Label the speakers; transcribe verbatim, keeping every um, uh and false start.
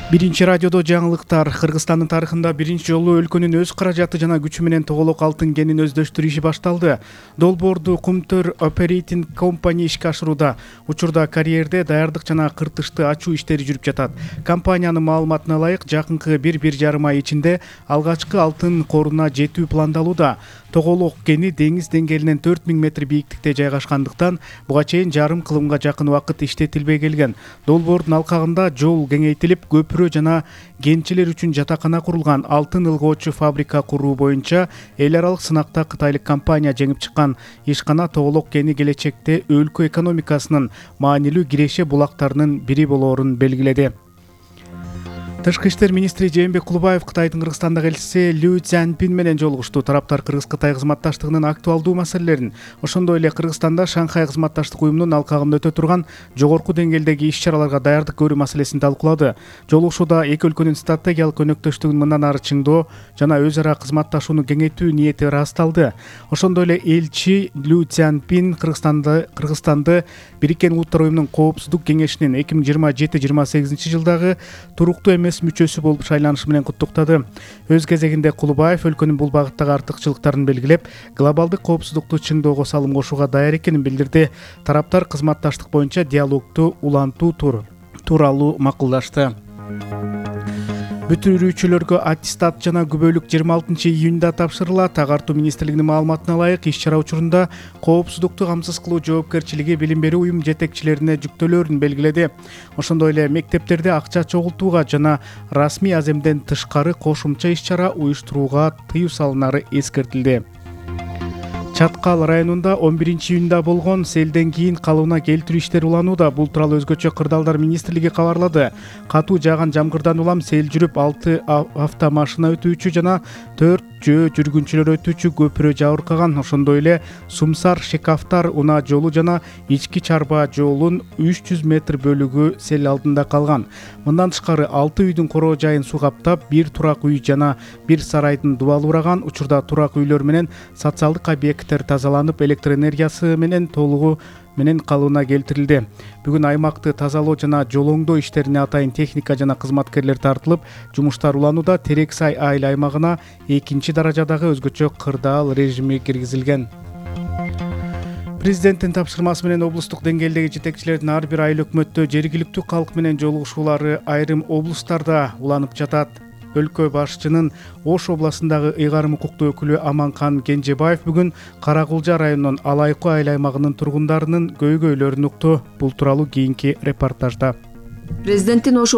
Speaker 1: Биринчи радиодо жаңылыктар. Кыргызстандын тарыхында биринчи жолу өлкөнүн өз каражаты жана күчү менен тоголок алтын кенин өздөштүрүү иши башталды. Долбоорду Кумтөр Operating Company ишке ашырууда. Учурда карьерде даярдык жана кыртышты ачуу иштери жүрүп жатат. Компаниянын маалыматына ылайык, жакынкы бир бир жарым ай ичинде алгачкы алтын коруна жетүү пландалууда. Тоголок кени деңиз деңгээлинен төрт миң метр бийиктикте жайгашкандыктан буга чейин жарым кылымга жакын убакыт иштетилбей келген. Долбоордун алкагында жол кеңейтилип, көпүрө жана кенчилер үчүн жатакана курулган. Алтын ылгоочу фабрика куруу боюнча эл аралык сынакта кытайлык компания жеңип чыккан. Ишкана Тоголок кени келечекте өлкө экономикасынын маанилүү киреше булактарынын бири болоорун белгиледи. Тышкы иштер министри Жээнбек Кулубаев Кытайдын Кыргызстандагы элчиси Лю Цзяньпин менен жолугушту. Тараптар Кыргыз-Кытай кызматташтыгынын актуалдуу маселелерин, ошондой эле Кыргызстанда Шанхай кызматташтык уюмунун алкагында өтө турган жогорку деңгээлдеги иш-чараларга даярдык көрүү маселесин талкуулады. Жолугушууда эки өлкөнүн стратегиялык өнөктөштүгүн мындан ары чыңдоо жана өз ара кызматташууну кеңейтүү ниети ырасталды. Ошондой эле элчи Лю Цзяньпин Кыргызстанды Кыргызстанды Бириккен Улуттар уюмунун Коопсуздук кеңешинин эки миң жыйырма жети жыйырма сегизинчи жылдагы туруктуу эмес мүчөсү болуп шайланышы менен куттуктады. Өз кезегинде Кулубаев өлкөнүн бул багыттагы артыкчылыктарын белгилеп, глобалдык коопсуздукту чыңдоого салым кошууга даяр экенин билдирди. Тараптар кызматташтык боюнча диалогду улантуу тууралуу макулдашты. Бүтүрүүчүлөргө аттестат жана күбөлүк жыйырма алтынчы июнда тапшырылат. Агартуу министрлигинин маалыматына ылайык, иш-чара учурунда коопсуздукту камсыз кылуу жоопкерчилиги билим берүү уюм жетекчилерине жүктөлөөрүн белгиледи. Ошондой эле мектептерде акча чогултууга жана расмий аземден тышкары кошумча иш-чара уюштурууга тыюу салынары эскертилди. Чаткал районунда он биринчи июнда болгон селден кийин калыбына келтирүү иштери уланууда. Бул тууралуу өзгөчө Кырдаалдар министрлиги кабарлады. Катуу жааган жамгырдан улам сел жүрүп, алты автомашина өтүүчү жана төрт жөө жүргүнчүлөр өтүүчү көпүрө жабыркаган. Ошондой эле Сумсар Шекафтар унаа жолу жана ички чарба жолунун үч жүз метр бөлүгү сел алдында калган. Мындан тышкары алты үйдүн короо жайын суу каптап, бир турак үй жана бир сарайдын дубалы ураган. Учурда турак үйлөр менен социалдык объект тазаланып, электр энергиясы менен толугу менен калыбына келтирилди. Бүгүн аймакты тазалоо жана жолоңдоо иштерине атайын техника жана кызматкерлер тартылып, жумуштар уланууда. Терек Сай айыл аймагына экинчи даражадагы өзгөчө кырдаал режими киргизилген. Президенттин тапшырмасы менен облустук деңгээлдеги жетекчилердин ар бир айыл өкмөттө жергиликтүү калк менен жолугушуулары айрым облустарда уланып жатат. Өлкө башчынын Ош областындагы ыйгарым укуктуу өкүлү Аманкан Кенжебаев бүгүн Каракулжа районунун Алайкы айыл аймагынын тургундарынын көйгөйлөрүн укту. Бул тууралуу кийинки репортажда.
Speaker 2: Президенттин Ош